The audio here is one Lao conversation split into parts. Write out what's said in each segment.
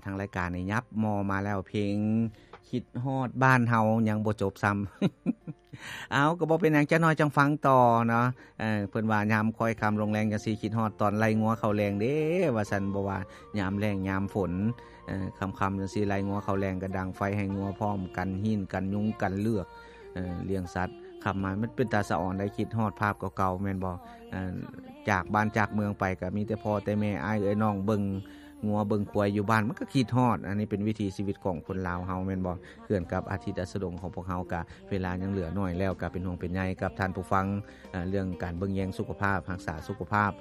ທາງລາຍການນີ້ຫຍັບມໍ່ມາແລ້ວ ເພງຄິດຮອດບ້ານເຮົາຍັງບໍ່ຈົບຊ້ຳ. ເອົາ ກໍບໍ່ເປັນຫຍັງ ຈັກໜ້ອຍຈັ່ງຟັງຕໍ່ເນາະ. ເອີ ເພິ່ນວ່າຍາມຄ້ອຍຄ່ຳລົງແລງຈັ່ງຊີ້ ຄິດຮອດຕອນໄລ່ງົວເຂົ້າແລງເດ້ ວ່າຊັ້ນ. ບໍ່ວ່າຍາມແລ້ງຍາມຝົນ ເອີ ຄ່ຳໆຈັ່ງຊີ້ ໄລ່ງົວເຂົ້າແລງ ກໍດັງໄຟໃຫ້ງົວພ້ອມ ກັນຮີນ ກັນຍຸງ ກັນເລືອກ ເອີ ລ້ຽງສັດ. ຄ່ຳມາມັນເປັນຕາສະອອນໄດ໋ ຄິດຮອດພາບເກົ່າໆ ແມ່ນບໍ່? ເອີ ຈາກບ້ານຈາກເມືອງໄປ ກໍມີແຕ່ພໍ່ແຕ່ແມ່ ອ້າຍເອື້ອຍນ້ອງ ເບິ່ງງົວເບິ່ງຄວາຍຢູ່ບ້ານ ມັນກໍຄິດຮອດ. ອັນນີ້ເປັນວິຖີຊີວິດຂອງຄົນລາວເຮົາ ແມ່ນບໍ່? ເຮືອນກັບອາທິດອາສະດົງຂອງພວກເຮົາ ກະເວລາຍັງເຫຼືອໜ້ອຍ ແລ້ວກະເປັນຫ່ວງເປັນໃຍກັບທ່ານຜູ້ຟັງ ເອີ ເລື່ອງການເບິ່ງແຍງສຸຂະພາບ ຮັກສາສຸຂະພາບ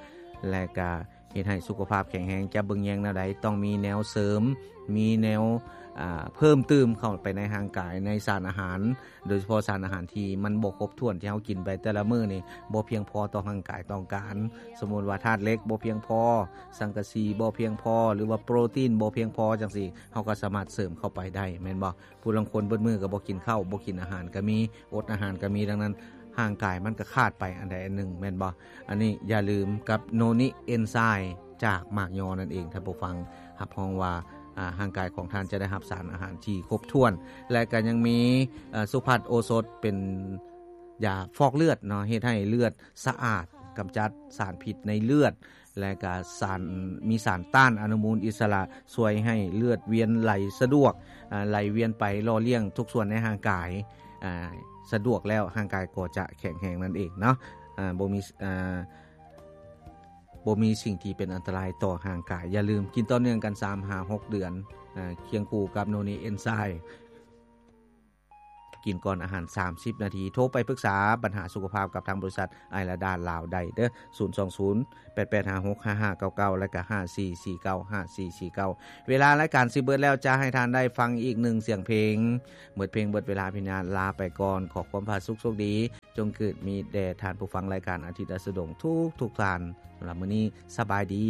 ແລະກະເຮັດໃຫ້ສຸຂະພາບແຂງແຮງ. ຈະເບິ່ງແຍງແນວໃດ? ຕ້ອງມີແນວເສີມ ມີແນວ ອາ ເພີ່ມຕື່ມເຂົ້າໄປໃນຮ່າງກາຍ ໃນສານອາຫານ ໂດຍສະເພາະສານອາຫານທີ່ມັນບໍ່ຄົບຖ້ວນ ທີ່ເຮົາກິນໄປແຕ່ລະມື້ນີ້ ບໍ່ພຽງພໍຕໍ່ຮ່າງກາຍຕ້ອງການ. ສົມມຸດວ່າທາດເຫຼັກບໍ່ພຽງພໍ, ສັງກະສີບໍ່ພຽງພໍ ຫຼືວ່າໂປຣຕີນບໍ່ພຽງພໍ ຈັ່ງຊີ້ ເຮົາກໍສາມາດເສີມເຂົ້າໄປໄດ້ ແມ່ນບໍ່? ຜູ້ລາງຄົນເບິດມື້ກໍບໍ່ກິນເຂົ້າ ບໍ່ກິນອາຫານກໍມີ ອົດອາຫານກໍມີ. ດັ່ງນັ້ນ ຮ່າງກາຍມັນກໍຂາດໄປອັນໃດອັນໜຶ່ງ ແມ່ນບໍ່? ອັນນີ້ຢ່າລືມກັບໂນນິເອນໄຊ ຈາກໝາກຍໍນັ້ນເອງ ທ່ານຜູ້ຟັງ. ຮັບຮອງວ່າ ອາ ຮ່າງກາຍຂອງທ່ານຈະໄດ້ຮັບສານອາຫານທີ່ຄົບຖ້ວນ ແລະກໍຍັງມີ ເອີ ສຸພັດໂອສົດ ເປັນຢາຟອກເລືອດເນາະ ເຮັດໃຫ້ເລືອດສະອາດ ກຳຈັດສານພິດໃນເລືອດ ແລະກະສານ ມີສານຕ້ານອະນຸມູນອິດສະຫຼະ ຊ່ວຍໃຫ້ເລືອດວຽນໄຫຼສະດວກ ອາ ໄຫຼວຽນໄປຫຼໍ່ລ້ຽງທຸກສ່ວນໃນຮ່າງກາຍ ອາ ສະດວກແລ້ວ ຮ່າງກາຍກໍຈະແຂງແຮງນັ້ນເອງເນາະ. ອາ ບໍ່ມີ ອາ ບໍ່ມີສິ່ງທີ່ເປັນອັນຕະລາຍຕໍ່ຮ່າງກາຍ. ຢ່າລືມກິນຕໍ່ເນື່ອງກັນສາມຫາຫົກເດືອນ ອາ ຄຽງຄູ່ກັບໂນນີເອນໄຊ ກິນກ່ອນອາຫານສາມສິບນາທີ. ໂທໄປປຶກສາບັນຫາສຸຂະພາບກັບທາງບໍລິສັດໄອລາດາລາວໄດ້ເດີ້ ສູນສອງສູນ ແປດແປດຫ້າຫົກຫ້າຫ້າເກົ້າເກົ້າ ແລະກະຫ້າສີ່ສີ່ເກົ້າ ຫ້າສີ່ສີ່ເກົ້າ. ເວລາລາຍການຊິເບິດແລ້ວ ຈະໃຫ້ທ່ານໄດ້ຟັງອີກໜຶ່ງສຽງເພງ. ເໝິດເພງເບິດເວລາພິນາ ລາໄປກ່ອນ. ຂໍຄວາມຜາສຸກໂຊກດີ ຈົ່ງເກີດມີແດ່ທ່ານຜູ້ຟັງລາຍການອາທິດອາສະດົງທຸກໆທ່ານ. ສຳລັບມື້ນີ້ ສະບາຍດີ.